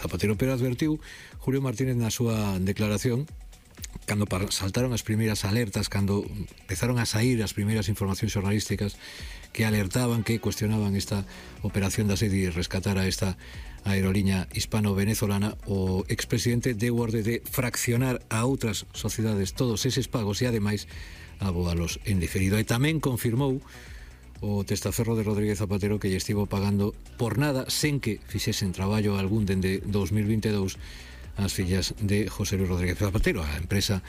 Zapatero, pero advertiu Julio Martínez na súa declaración cando saltaron as primeiras alertas, cando empezaron a sair as primeiras informacións xornalísticas que alertaban, que cuestionaban esta operación da SEDI e rescatar a esta aerolínea hispano-venezolana. O expresidente deu orde de fraccionar a outras sociedades todos eses pagos e ademais aboalos en diferido. E tamén confirmou o testaferro de Rodríguez Zapatero que lle estivo pagando por nada, sen que fixesen traballo algún dende 2022 as fillas de José Luis Rodríguez Zapatero, a empresa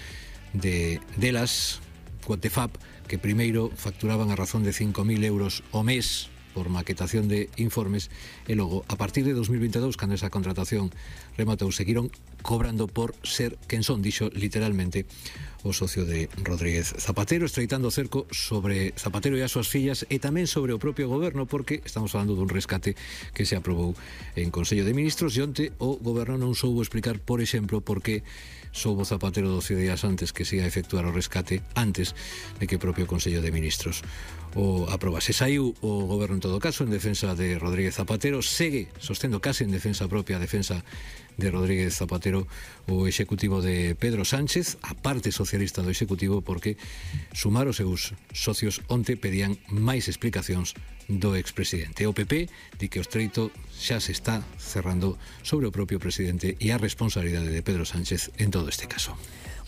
delas, Cuatefab, que primeiro facturaban a razón de 5.000 euros ao mes por maquetación de informes e logo, a partir de 2022, cando esa contratación rematou, seguiron cobrando por ser quen son, dixo literalmente o socio de Rodríguez Zapatero, estreitando o cerco sobre Zapatero e as súas fillas e tamén sobre o propio goberno, porque estamos falando dun rescate que se aprobou en Consello de Ministros e onte o goberno non soubo explicar, por exemplo, por que soubo Zapatero 12 días antes que se ia a efectuar o rescate antes de que o propio Consello de Ministros o aprobase. Saiu o goberno en todo caso en defensa de Rodríguez Zapatero, segue sostendo case en defensa propia, a defensa de Rodríguez Zapatero, o executivo de Pedro Sánchez, a parte socialista do executivo, porque sumar os seus socios onte pedían máis explicacións do expresidente. O PP di que o estreito xa se está cerrando sobre o propio presidente e a responsabilidade de Pedro Sánchez en todo este caso.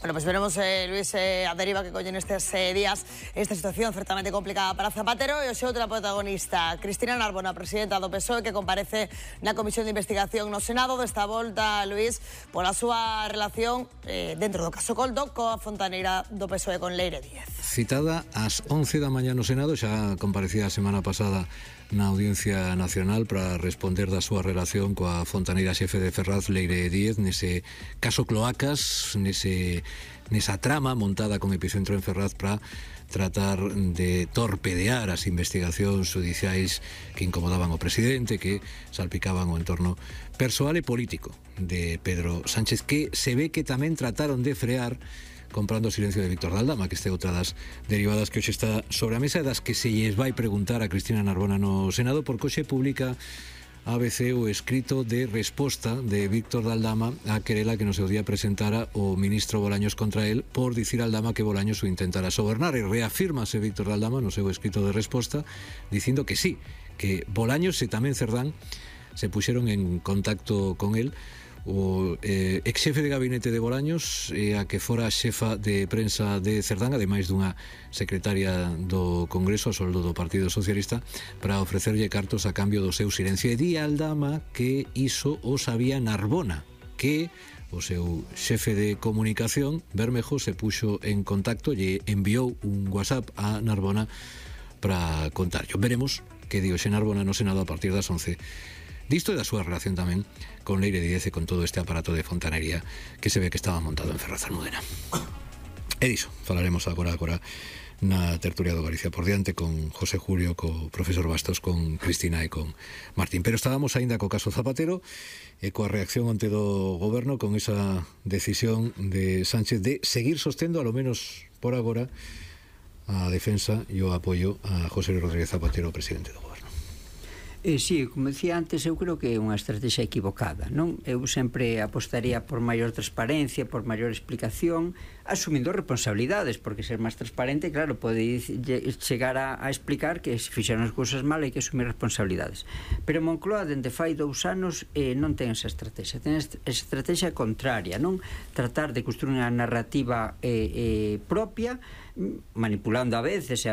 Bueno, pues veremos, Luis, a deriva que collen estes días esta situación certamente complicada para Zapatero e o seu outra protagonista, Cristina Narbona, presidenta do PSOE, que comparece na Comisión de Investigación no Senado desta volta, Luis, pola súa relación dentro do caso Coldo coa fontaneira do PSOE con Leire Díez. Citada ás 11 da mañá no Senado, xa comparecía a semana pasada na Audiencia Nacional para responder da súa relación coa fontaneira xefe de Ferraz, Leire Díez, nese caso Cloacas, nesa trama montada con epicentro en Ferraz para tratar de torpedear as investigacións judiciais que incomodaban o presidente, que salpicaban o entorno persoal e político de Pedro Sánchez, que se ve que tamén trataron de frear comprando o silencio de Víctor Daldama, que este outra das derivadas que hoxe está sobre a mesa e das que se lles vai preguntar a Cristina Narbona no Senado, porque hoxe publica ABC o escrito de resposta de Víctor Daldama a querela que no seu día presentara o ministro Bolaños contra él por dicir a Daldama que Bolaños o intentara sobornar, e reafírmase Víctor Daldama no seu escrito de resposta dicindo que sí, que Bolaños e tamén Cerdán se puxeron en contacto con él. O ex-xefe de gabinete de Bolaños e a que fora xefa de prensa de Cerdán, ademais dunha secretaria do Congreso a soldo do Partido Socialista, para ofrecerlle cartos a cambio do seu silencio. E di Aldama que iso o sabía Narbona, que o seu xefe de comunicación, Bermejo, se puxo en contacto e enviou un WhatsApp a Narbona para contarlo. Veremos que dio xe Narbona no Senado a partir das 11. Disto e da súa relación tamén con Leire Díez e con todo este aparato de fontanería que se ve que estaba montado en Ferraz Almudena. E diso falaremos agora na tertulia do Galicia por diante con José Julio, co profesor Bastos, con Cristina e con Martín. Pero estábamos aínda co caso Zapatero e coa reacción ante do goberno con esa decisión de Sánchez de seguir sostendo, a lo menos por agora, a defensa e o apoio a José Luis Rodríguez Zapatero, presidente do goberno. Sí, como decía antes, eu creo que é unha estrategia equivocada, non? Eu sempre apostaría por maior transparencia, por maior explicación, asumindo responsabilidades, porque ser máis transparente, claro, pode chegar a explicar que se fixeron as cousas mal e que asumir responsabilidades. Pero Moncloa, dende fai 2 anos, non ten esa estrategia, ten esa estrategia contraria, non? Tratar de construir unha narrativa propia, manipulando a veces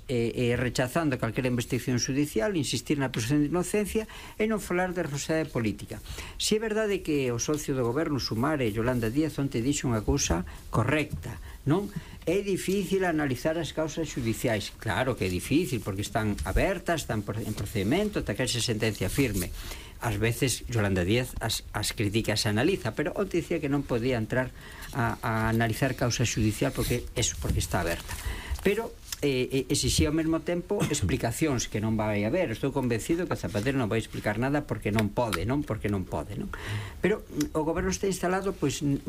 rechazando calquera investigación judicial, insistir na presunción de inocencia e non falar de responsabilidade política. Si é verdade que o socio do goberno, Sumar, e Yolanda Díaz, onte dixo unha cousa correcta, non? É difícil analizar as causas judiciais. Claro que é difícil, porque están abertas, están en procedimento, ata que haxe sentencia firme. Ás veces Yolanda Díaz as críticas se analiza, pero onte dicía que non podía entrar a analizar causa judicial porque está aberta. Pero exixía ao mesmo tempo explicacións que non vai haber. Estou convencido que Zapatero non vai explicar nada porque non pode. Pero o goberno está instalado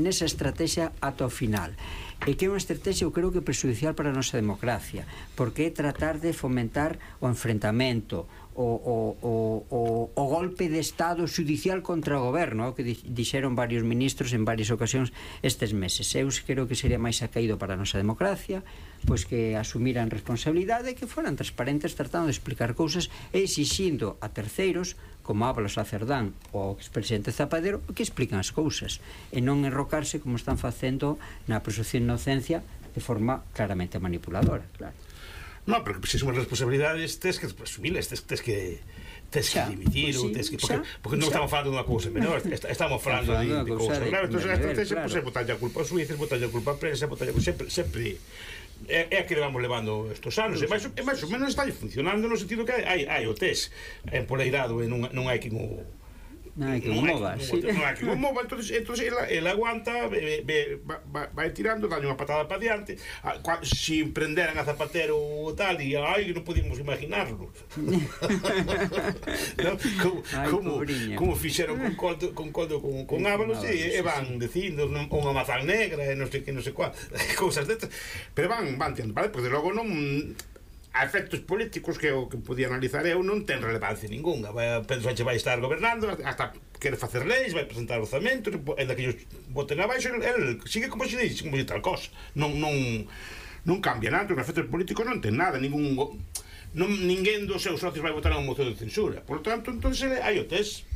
nesa estrategia ata o final, e que é unha estrategia, eu creo que prexudicial para a nosa democracia, porque é tratar de fomentar o enfrentamento, o golpe de Estado judicial contra o goberno, que dixeron varios ministros en varias ocasións estes meses. Eu creo que sería máis acaído para a nosa democracia pois que asumiran responsabilidade e que foran transparentes tratando de explicar cousas e exixindo a terceiros como Ábalos a Cerdán ou o expresidente Zapatero que explican as cousas e non enrocarse como están facendo na presunción de inocencia de forma claramente manipuladora, claro. No, pero que se suman responsabilidades tes que asumilas, tes que dimitir ou tes que porque non estamos falando dunha cousa menor, estamos falando de cousas graves. Entón, a estrategia botarlle a culpa aos xuíces, botarlle a culpa a prensa, sempre é a que levamos levando estos anos e máis ou menos está funcionando no sentido que hai o test empoleirado e non hai que non hai que mova, entón ele aguanta, vai tirando, dalle unha patada para diante. Se prenderan a Zapatero ou tal, e non podíamos imaginarlo como fixeron con Ábalos e van dicindo unha mazán negra e non sei que, non sei cuál cousas destas, pero van tirando, porque de logo non a efectos políticos que o que podía analizar eu non ten relevancia ninguna. Pedro Sánchez vai estar gobernando hasta quere facer leis, vai presentar orzamentos en que ellos voten abaixo, el sigue como se dice tal cosa, non cambia nada. En efectos políticos non ten nada, ninguén dos seus socios vai votar unha moción de censura, por lo tanto, entonces hai o test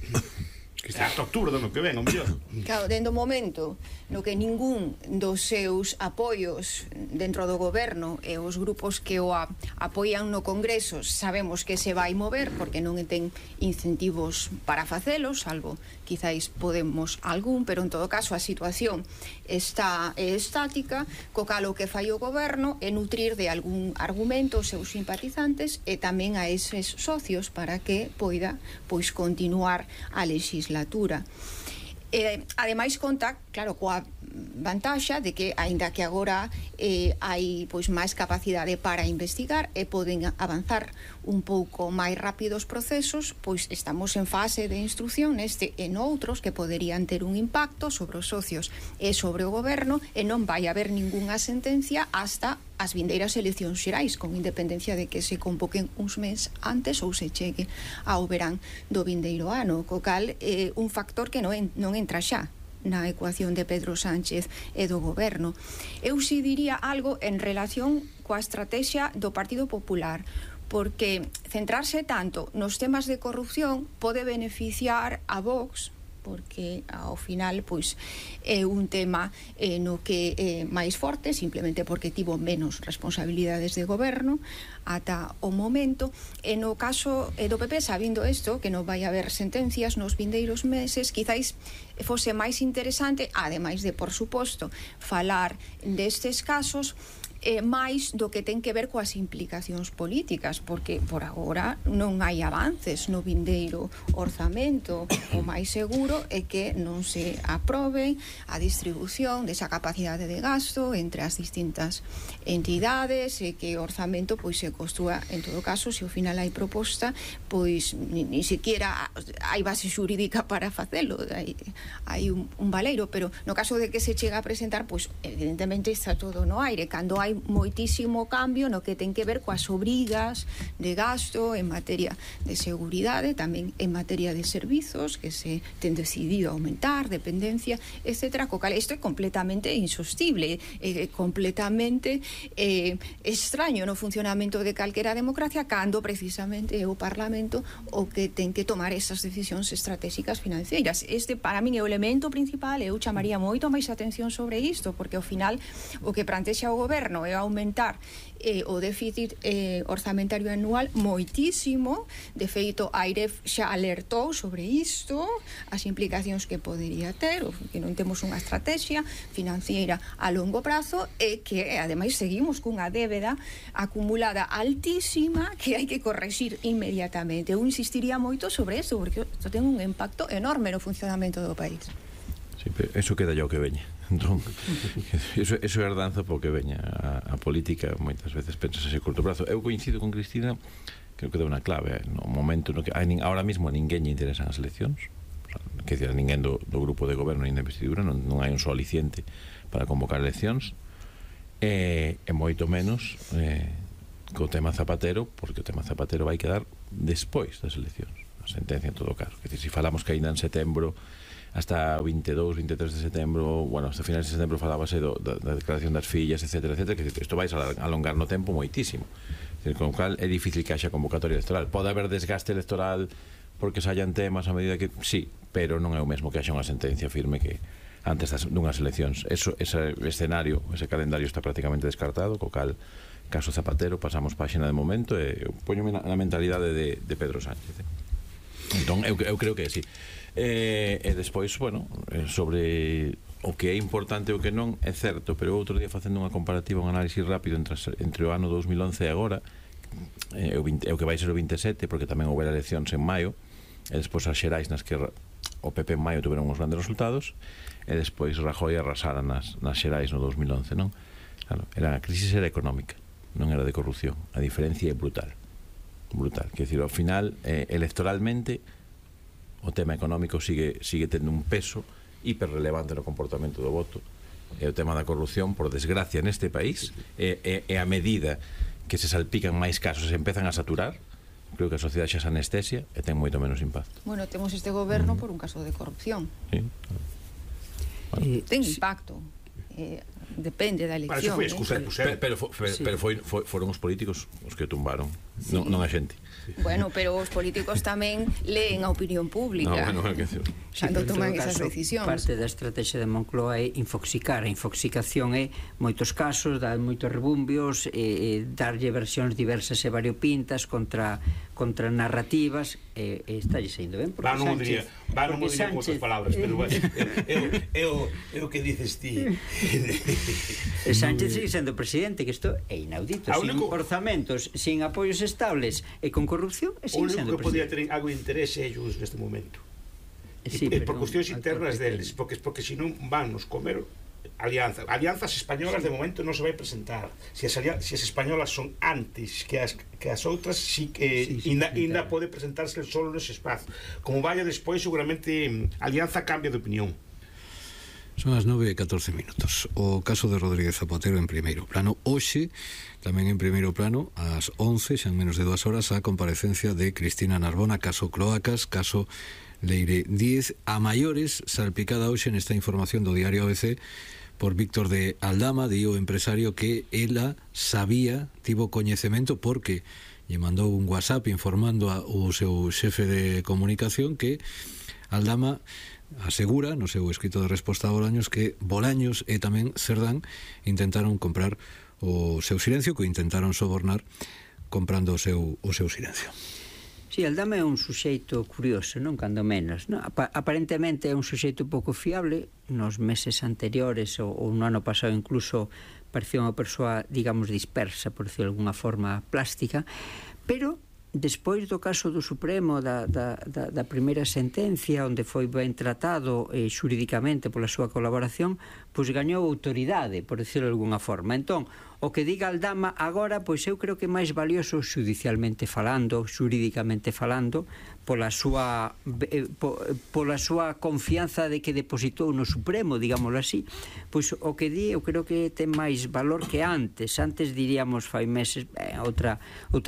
hasta octubre do ano que ven, o mellor. Claro, dentro do momento no que ningún dos seus apoios dentro do goberno e os grupos que o apoian no Congreso sabemos que se vai mover porque non ten incentivos para facelo, salvo quizáis Podemos algún, pero en todo caso a situación está estática, co cal o que fai o goberno é nutrir de algún argumento os seus simpatizantes e tamén a eses socios para que poida pois continuar a legislatura. Ademais conta, claro, coa vantaxa de que, aínda que agora hai pois máis capacidade para investigar e poden avanzar un pouco máis rápido os procesos, pois estamos en fase de instrucción neste e noutros que poderían ter un impacto sobre os socios e sobre o goberno e non vai haber ningunha sentencia hasta as vindeiras eleccións xerais, con independencia de que se convoquen uns meses antes ou se chegue ao verán do vindeiro ano, co cal un factor que non entra xa na ecuación de Pedro Sánchez e do goberno. Eu si diría algo en relación coa estrategia do Partido Popular, porque centrarse tanto nos temas de corrupción pode beneficiar a Vox, porque ao final pois é un tema no que é máis forte, simplemente porque tivo menos responsabilidades de goberno ata o momento, e no caso do PP, sabindo isto, que non vai haber sentencias nos vindeiros meses, quizáis fose máis interesante, ademais de, por suposto, falar destes casos, máis do que ten que ver coas implicacións políticas, porque por agora non hai avances no vindeiro orzamento. O máis seguro é que non se aprobe a distribución desa capacidade de gasto entre as distintas entidades e que o orzamento pois se construa, en todo caso, se ao final hai proposta, pois ni siquiera hai base xurídica para facelo, hai un baleiro, pero no caso de que se chega a presentar, pois evidentemente está todo no aire, cando hai moitísimo cambio no que ten que ver coas obrigas de gasto en materia de seguridade, tamén en materia de servizos que se ten decidido aumentar, dependencia, etc. Co cal isto é completamente insostible, completamente extraño no funcionamento de calquera democracia, cando precisamente é o Parlamento o que ten que tomar esas decisións estratégicas financeiras. Este para min é o elemento principal, eu chamaría moito máis atención sobre isto, porque ao final o que plantexa o goberno é aumentar o déficit orzamentario anual moitísimo. De feito, a AIREF xa alertou sobre isto, as implicacións que podería ter, que non temos unha estrategia financiera a longo prazo e que, ademais, seguimos cunha débeda acumulada altísima que hai que correxir inmediatamente. Eu insistiría moito sobre isto, porque isto ten un impacto enorme no funcionamento do país. Sí, pero eso queda yo que veña. Entón, eso é herdanza porque veña a política moitas veces pensas a corto prazo. Eu coincido con Cristina, creo que dá unha clave no momento no que ahora mismo a ninguén lle interesan as eleccións, que decir, a ninguén do grupo de goberno nin de investidura, non hai un só aliciente para convocar eleccións, e moito menos co tema Zapatero, porque o tema Zapatero vai quedar despois das eleccións, a sentencia en todo caso. Que se falamos que ainda en setembro, hasta o 22, 23 de setembro, bueno, hasta finales de setembro falábase da declaración das fillas, etcétera, etcétera, que isto vai alongar no tempo moitísimo. Con o cal é difícil que haxa convocatoria electoral. Pode haber desgaste electoral porque saían temas a medida que... Sí, pero non é o mesmo que haxa unha sentencia firme que antes dunhas eleccións. Ese escenario, ese calendario está prácticamente descartado, co cal, caso Zapatero, pasamos páxina de momento e poñome na mentalidade de Pedro Sánchez. Entón, eu creo que sí. E despois, bueno, sobre o que é importante e o que non, é certo, pero outro día facendo unha comparativa, un análisis rápido entre o ano 2011 e agora, o que vai ser o 27, porque tamén houve eleccións en maio, e despois as xerais nas que o PP en maio tuveron uns grandes resultados, e despois Rajoy arrasara nas xerais no 2011, non? Claro, a crisis era económica, non era de corrupción. A diferencia é brutal. Quer dizer, ao final, electoralmente, o tema económico sigue tendo un peso hiperrelevante no comportamento do voto. E o tema da corrupción, por desgracia, neste país, e a medida que se salpican máis casos e empezan a saturar, creo que a sociedade xa se anestesia e ten moito menos impacto. Bueno, temos este goberno por un caso de corrupción. Sí. Bueno. Ten impacto. Depende da elección. Pero foron os políticos os que tumbaron, non a xente. Bueno, pero os políticos tamén leen a opinión pública cando toman esas decisións. Parte da estrategia de Moncloa é infoxicar. A infoxicación é moitos casos, dar moitos rebumbios, darlle versións diversas e variopintas contra narrativas, e está saindo ben, porque Sánchez... non mo diría con outras palabras, pero é o que dices ti. E Sánchez sigue sendo presidente, que isto é inaudito, sin orzamentos, sin apoios estables e con corrupción, e sigue sendo presidente. O único que podía ter algo de interese é ellos neste momento. Por cuestións internas deles, porque senón van nos comer alianzas españolas de momento non se vai presentar. Se as españolas son antes que as outras, sí que ainda pode presentarse solo nese espazo. Como vaya despois, seguramente Alianza cambia de opinión. Son as 9:14 minutos. O caso de Rodríguez Zapatero en primeiro plano. Hoxe, tamén en primeiro plano, ás 11, xa en menos de 2 horas, a comparecencia de Cristina Narbona, caso Cloacas, caso Leire Díez, a maiores, salpicada hoxe nesta información do diario ABC por Víctor de Aldama, di o empresario que ela sabía, tivo coñecemento porque lle mandou un WhatsApp informando ao seu xefe de comunicación que Aldama asegura no seu escrito de resposta a Bolaños que Bolaños e tamén Cerdán intentaron comprar o seu silencio, que intentaron sobornar comprando o seu silencio. Si, Aldama é un suxeito curioso, non? Cando menos, non? Aparentemente é un suxeito pouco fiable. Nos meses anteriores ou no ano pasado incluso parecía unha persoa, digamos, dispersa, por decirlo de alguna forma plástica, pero despois do caso do Supremo, da primeira sentencia, onde foi ben tratado xurídicamente pola súa colaboración, pois gañou autoridade, por decirlo de alguna forma. Entón, o que diga Aldama agora, pois eu creo que é máis valioso xudicialmente falando, xurídicamente falando, pola súa confianza de que depositou no Supremo, digámoslo así. Pois o que di, eu creo que ten máis valor que antes. Antes diríamos, fai meses, outra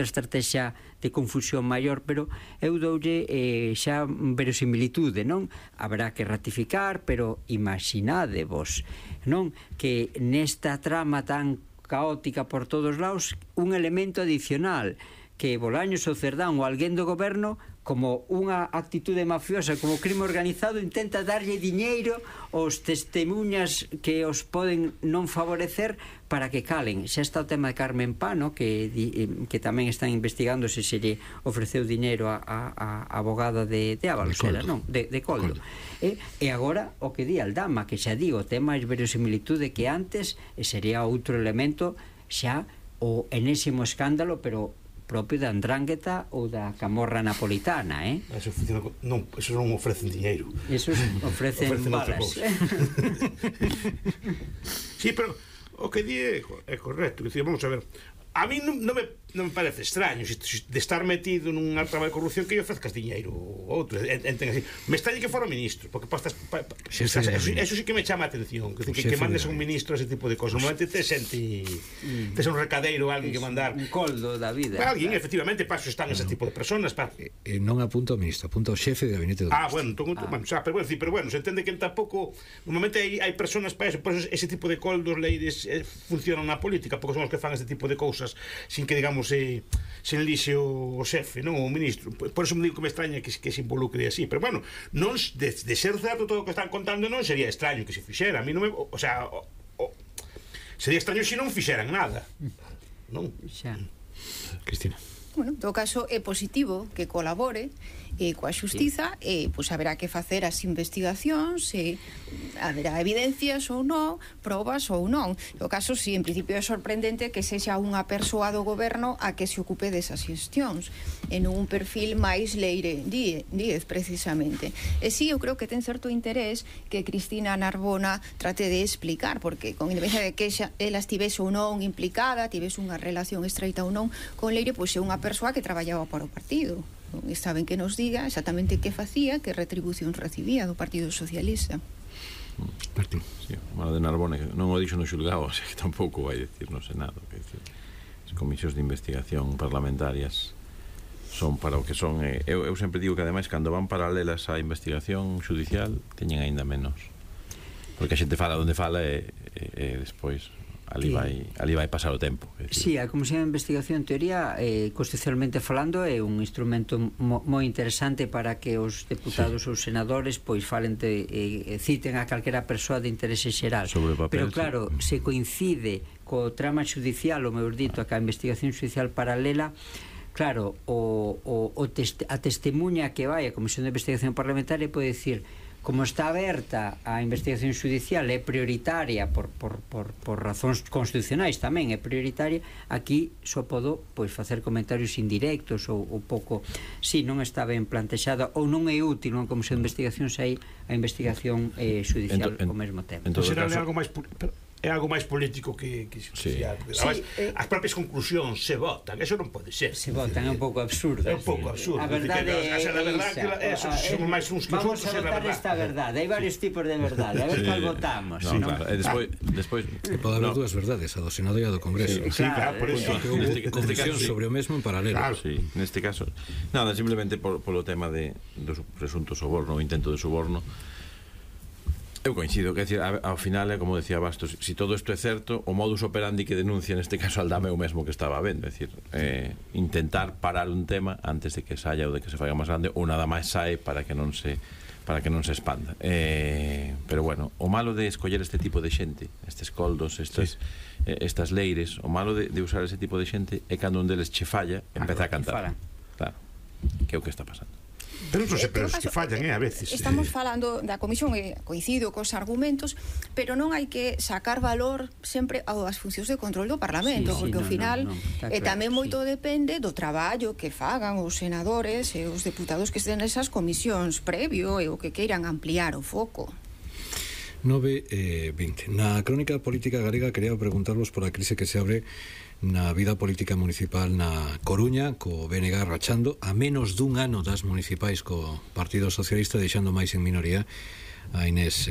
estrategia de confusión maior, pero eu doulle xa verosimilitude, non? Habrá que ratificar, pero imaginadevos, non? Que nesta trama tan caótica por todos lados, un elemento adicional, que Bolaños ou Cerdán ou alguén do goberno, como unha actitude mafiosa, como crime organizado, intenta darlle diñeiro aos testemunhas que os poden non favorecer para que calen. Xa está o tema de Carmen Pano, que tamén están investigando se lle ofreceu diñeiro a abogada de Ábalos, de Coldo. E agora o que di Aldama, que xa digo, ten máis verosimilitude que antes, e sería outro elemento xa o enésimo escándalo, pero propio da Andrángueta ou da Camorra napolitana, Eso funciona, non, eso non ofrecen diñeiro. Eso ofrecen balas. Sí, pero o que di é correcto. Vamos a ver, a mí non me non me parece extraño de estar metido nun trama de corrupción que lle ofrezcas diñeiro outro, enten así. Me extraña que fora ministro, porque eso sí que me chama a atención, que mandes a un ministro ese tipo de cosas. Normalmente te sente un recadeiro, alguén que mandar un coldo da vida. Alguén, efectivamente, paso están ese tipo de personas. Non apunta ao ministro, apunta ao xefe de gabinete do ministro. Pero bueno, se entende que tampouco normalmente hai personas para eso, por eso ese tipo de coldos leires funcionan na política, porque son os que fan ese tipo de cousas sin que, digamos, se enlixe o xefe, non o ministro. Por eso me digo que me extraña que se involucre así, pero bueno, non de ser certo todo o que están contando, non sería extraño que se fixera. A mí non me, o sea, sería extraño se non fixeran nada. Non? Xa. Cristina. Bueno, en todo caso é positivo que colabore coa xustiza e pois haberá que facer as investigacións e haberá evidencias ou non, probas ou non. No caso, si, en principio é sorprendente que sexa unha persoa do goberno a que se ocupe desas xestións en un perfil máis Leire Díez, precisamente. E si, eu creo que ten certo interés que Cristina Narbona trate de explicar, porque con independencia de que ela estivese ou non implicada, tivese unha relación estreita ou non con Leire, pois é unha persoa que traballaba para o partido. Está ben que nos diga exactamente que facía, que retribución recibía do Partido Socialista. Martín. Sí, o malo de Narbona non o dixo no xulgado, o sea que tampouco vai decir no Senado, que decir, as comisións de investigación parlamentarias son para o que son. Eu sempre digo que ademais cando van paralelas á investigación judicial teñen aínda menos, porque a xente fala onde fala e despois ali vai pasar o tempo. Si, a Comisión de Investigación en teoría, constitucionalmente falando, é un instrumento moi interesante para que os deputados ou senadores pois falen citen a calquera persoa de interese xeral. Pero claro, se coincide co trama judicial, ou mellor dito, a investigación judicial paralela, claro, a testemunha que vai a Comisión de Investigación Parlamentaria pode dicir, como está aberta a investigación judicial, é prioritaria por razóns constitucionais tamén, é prioritaria, aquí só podo pois facer comentarios indirectos ou pouco, si non está ben plantexada ou non é útil unha comisión de investigación se hai a investigación judicial ao mesmo tempo. Será algo máis político que judicial. Sí. As propias conclusións se votan, eso non pode ser. Se votan, é un pouco absurdo. É un pouco absurdo. A verdade é esa. Somos máis uns que vamos a votar esta verdade. Hai varios tipos de verdade. A ver cual votamos. Despois pode haber dúas verdades, a do Senado e a do Congreso. Sí, claro, por eso. Confesión sobre o mesmo en paralelo. Sí, neste caso. Nada, simplemente polo tema dos presuntos soborno, o intento de soborno. Eu coincido, que decir, ao final é como decía Bastos, si todo isto é certo, o modus operandi que denuncia neste caso Aldama é o mesmo que estaba vendo, é dicir, intentar parar un tema antes de que saia ou de que se faga máis grande, ou nada máis sae para que non se expanda. Pero bueno, o malo de escoller este tipo de xente, estes coldos, estas leires, o malo de usar ese tipo de xente é cando un deles che falla, empeza a cantar. Claro, que é o que está pasando. Pero non sempre os que fallan, a veces. Estamos falando da comisión, coincido cos argumentos, pero non hai que sacar valor sempre ás funcións de control do Parlamento, porque ao final tamén moito depende do traballo que fagan os senadores e os deputados que estén nesas comisións previo e o que queiran ampliar o foco. 9:20. Na crónica política galega quería preguntarvos por a crise que se abre na vida política municipal na Coruña, co BNG rachando a menos dun ano das municipais co Partido Socialista, deixando máis en minoría a Inés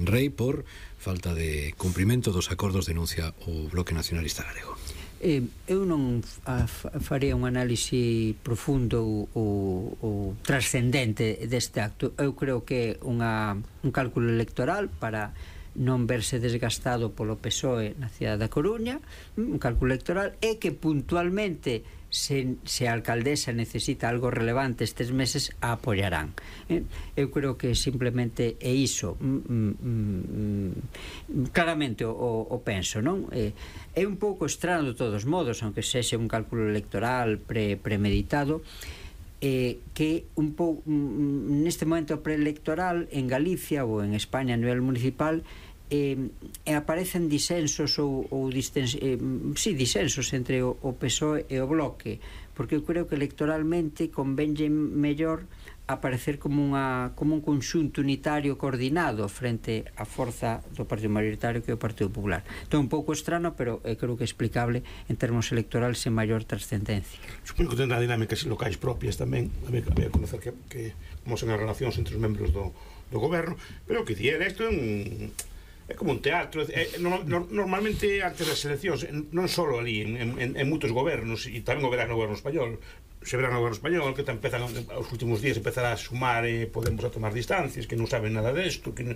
Rei por falta de cumprimento dos acordos, denuncia o Bloque Nacionalista Galego. Eu non faría un análise profundo ou trascendente deste acto. Eu creo que é un cálculo electoral para non verse desgastado polo PSOE na cidade da Coruña, un cálculo electoral, e que puntualmente se a alcaldesa necesita algo relevante estes meses a apoiarán. Eu creo que simplemente é iso. Claramente o penso, non? É un pouco estrano de todos modos, aunque sexe un cálculo electoral premeditado, que un pouco neste momento preelectoral en Galicia ou en España a nivel municipal aparecen disensos disensos entre o PSOE e o Bloque, porque eu creo que electoralmente convenlle mellor aparecer como un conxunto unitario coordinado frente á forza do partido maioritario que é o Partido Popular. Entón, un pouco estrano, pero creo que é explicable en termos electorales sen maior trascendencia. Supoño que tendrá dinámicas locais propias tamén, había que conocer como son as relacións entre os membros do goberno, pero o que di isto é como un teatro. Normalmente antes das eleccións, non só ali, en moitos gobernos, e tamén o verán no goberno español, se verá no goberno español, que empezan aos últimos días empezará a sumar Podemos a tomar distancias, que non saben nada desto, que